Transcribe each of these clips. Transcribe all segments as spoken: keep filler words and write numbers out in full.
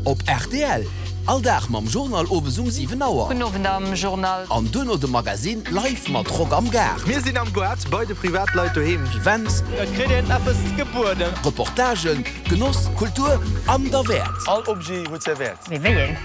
Op rtl, all Dag mam Journal owes um siwen Auer. Gudden Owend am Journal. An duerno de Magazine live mat Rock am Gaart. Mir sinn am Goart bei de Privatleit doheem. Events. Et kritt een eppes gebueden. Reportagen, Genoss, Kultur an derwäert. All Objet huet säi Wäert. Mee wéi een?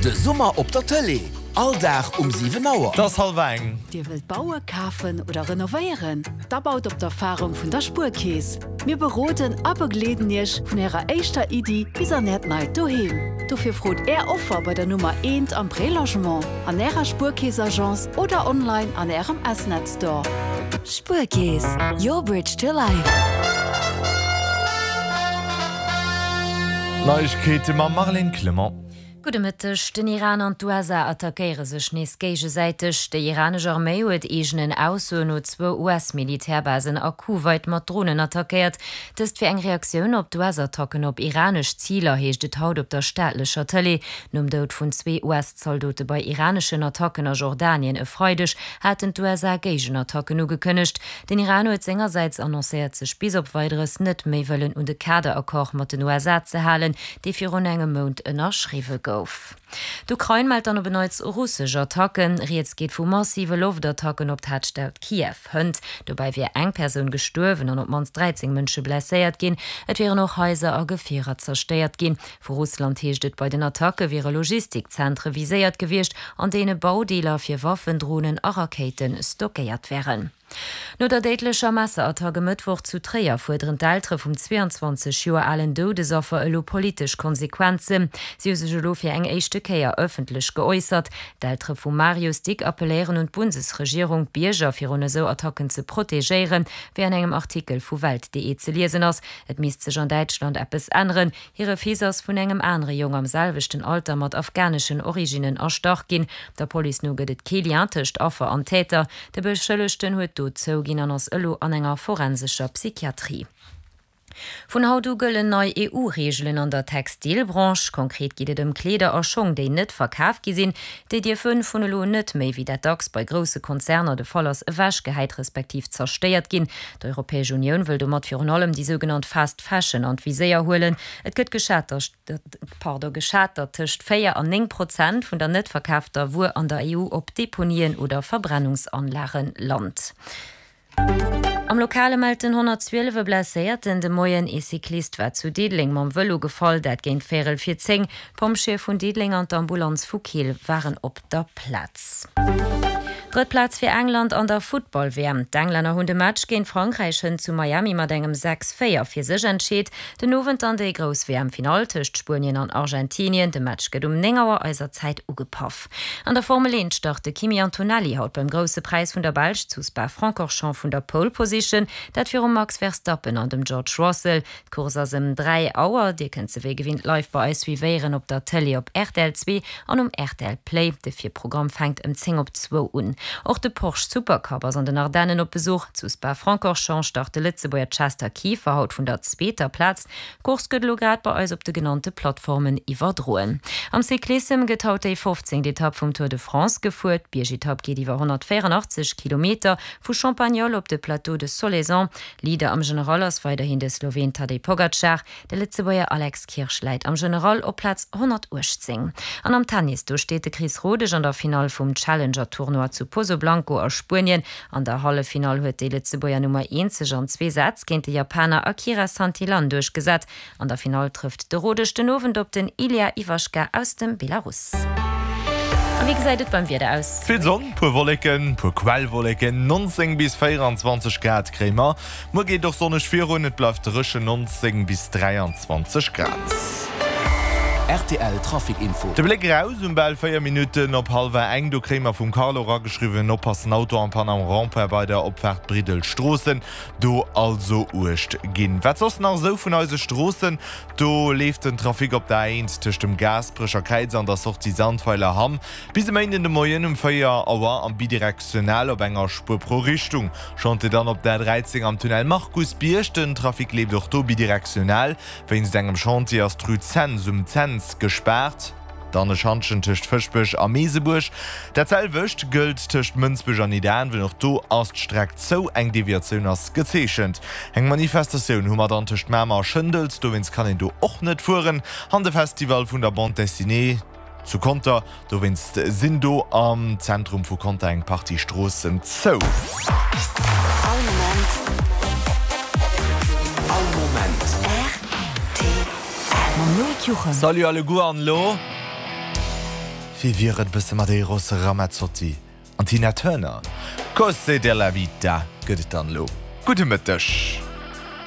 De Summer op der Tëlee, all Dag um siwen Auer. Et ass hallwer eng. Dir wëllt bauen, kafen oder renovéieren? Da baut op d'Erfarung vun der Spuerkeess. Mir beroden a begleeden Iech vun Ärer éischter Iddi bis an Äert neit Doheem. Dofir frot Är Offer bei der Nummer eent am Prélogement, an Ärer Spuerkeess-Agence oder online an Ärem S-Net Store. Spuerkeess, your bridge to life. Neiegkeete mam Marlène Clement. Gudde Mëtteg. Den Iran an d'USA attackéiere sech nees géigesäiteg. Déi iranesch Arméi huet eegenen Aussoen no zwou US-Militärbasen a Kuwait mat Dronen attackéiert. Dëst wier eng Reaktioun op d'US-Attacken op iranesch Ziler, heescht et haut op der staatlecher Tëlee. Nom Doud vun zwee US-Zaldote bei iraneschen Attacken a Jordanien e Freideg haten d'USA Géigenattacken ugekënnegt. Den Iran huet sengersäits annoncéiert, sech bis op Weideres net méi wëllen un de Kaderaccord mat den USA ze halen, dee virun engem Mount ënnerschriwwe gouf. D'Ukrain mellt dann op en Neits russesch Attacken. Rieds geet vu massive Loftattacken op d'Haaptstad Kiew hënt. Dobäi wier eng Persoun gestuerwen an op d'mannst dräizéng Mënsche blesséiert ginn. Et wieren och Haiser a Gefierer zerstéiert ginn. Vu Russland heescht et, bei den Attacke wiere Logistikzentre viséiert gewiescht, an deene Baudeeler fir Waffen, Dronen a Rakéite stockéiert wären. No der déidlecher Messerattack e Mëttwoch zu Tréier fuerderen d'Eltere vum zwee an zwanzeg Joer alen Doudesaffer elo politesch Konsequenzen. Si hu sech elo fir eng éischte Kéier ëffentlech geäussert. D'Eltere vum Marius Dick appelléieren un d'Bundesregierung, d'Bierger virun esou Attacken ze protegéieren, wéi an engem Artikel vu Welt.de ze liesen ass. Et misst sech an Däitschland eppes änneren. Hire Fils ass vun engem anere Jong am selwechten Alter mat afghaneschen Originnen erstach ginn. Der Police no gëtt et kee Lien tëscht Affer an Täter. De Beschëllegten huet d'Dot zouginn an ass elo an enger forensescher Psychiatrie. Vun haut u gëllen nei E U-Reegelen an der Textilbranche. Konkret geet et ëm Kleeder a Schong, déi net verkaf gi sinn. Déi dierfe vun elo un net méi, wéi dat dacks bei grousse Konzerner de Fall ass, ewechgehäit respektiv zerstéiert ginn. D'Europäesch Unioun wëll domat virun allem déi sougenannt Fast Fashion an d'Viséier huelen. Et gëtt geschat, geschat, datt tëscht véier an néng Prozent vun der net verkaafter Wuer an der E U op Deponien oder Verbrennungsanlage lant. Am Lokale mellt den honnertzwielef e Blesséierten de Moien. Ee Cyclist war zu Diddeleng mam Vëlo gefall, dat géint véierel vir zéng. D'Pompjeeë vun Diddeleng an d'Ambulanz vu Keel waren op der Plaz. Drëtt Plaz fir England an der Futtball-W M. D'Englänner hunn de Match géint Frankräich hënt zu Miami mat engem sechs véier fir sech entscheet. Den Owend dann déi grouss W M-Finall tëscht Spuenien an Argentinien. De Match gëtt um néng Auer eiser Zäit ugepaff. An der Formel eent start de Kimi Antonelli haut beim Grousse Präis vun der Belsch zu Spa-Francorchamps vun der Pole Position, dat virum Max Verstappen an dem George Russell. D'Course ass ëm dräi Auer. Dir kënnt se wéi gewinnt live bei eis suivéieren op der Tëlee op rtl zwee an um rtl Play. De Virprogramm fänkt ëm zéng op zwou un. Och de Porsche Supercup ass an den Ardennen op Besuch. Zu Spa-Francorchamps start de Lëtzebuerger Chester Kieffer haut vun der zweeter Plaz. D'Course gëtt elo grad bei eis op de genannte Plattformen iwwerdroen. Am Cyclissem gëtt haut déi fofzéngt Etapp vum Tour de France gefuer. D'Biergetapp geet iwwer honnertvéierandachtzeg Kilometer vu Champagnole op de Plateau de Solaison. Leader am General ass weiderhin de Sloween Tadej Pogacar. De Lëtzebuerger Alex Kirsch läit am General op Plaz honnertuechtzéng. An am Tennis, do steet de Chris Rodesch an der Finall vum Challenger-Tournoi zu Pozoblanco a Spuenien. An der Halleffinall huet déi Lëtzebuerger Nummer eent sech an zwee Sätz géint de Japaner Akira Santillan duerchgesat. An der Finall trëfft de Rodesch den Owend op den Ilya Ivashka aus dem Belarus. A wéi gesäit et beim Wieder aus? Vill Sonn, puer Wolleken, puer Quellwolleken, nonzéng bis véieranzwanzeg Grad kréie mer. Muer geet och sonneg virun, et bleift dréchen, nonzéng bis dräianzwanzeg Grad. Rtl Trafic Info. De Bléck eraus um bal véier Minutten op hallwer eng, do kréie mer vum Carlo erageschriwwen, Oppassen, Auto en panne am Rond-point bei der Opfaart Briddel Stroossen, do also uecht ginn. Wat soss nach esou vun eise Stroossen, do leeft den Trafic op der A eent tëscht dem Gaasperecher Kräiz an der Sortie Sandweiler Hamm bis e Méinden de Moien um véier Auer am bidirektional op enger Spuer pro Richtung. Chantier dann op der A dräizéng am Tunnel Markusbierg, den Trafic leeft och do bidirektional. Wéinst engem Chantier ass d'Rue Cents um Cents gespaart. Dann e Schantjen tëscht Fëschbech a Meesebuerg. Dat selwecht gëllt tëscht Mënsbech an Nidderaanwen, och do ass d'Streck zou, eng Deviatioun ass gezeechent. Eng Manifestatioun hu mer dann tëscht Mamer a Schëndels, dowéinst kann een do och net fueren. An de Festival vun der Bande Dessinée zu Conter, dowéinst sinn do am Zentrum vu Conter eng Partie Stroossen zou. All Moment. All Moment. Rtl. Mam Loïc Juchem. Salut alleguer an elo wéi wier et bësse mat Eros Ramazzotti an Tina Turner? Cose della vita gëtt et dann elo. Gudde Mëtteg.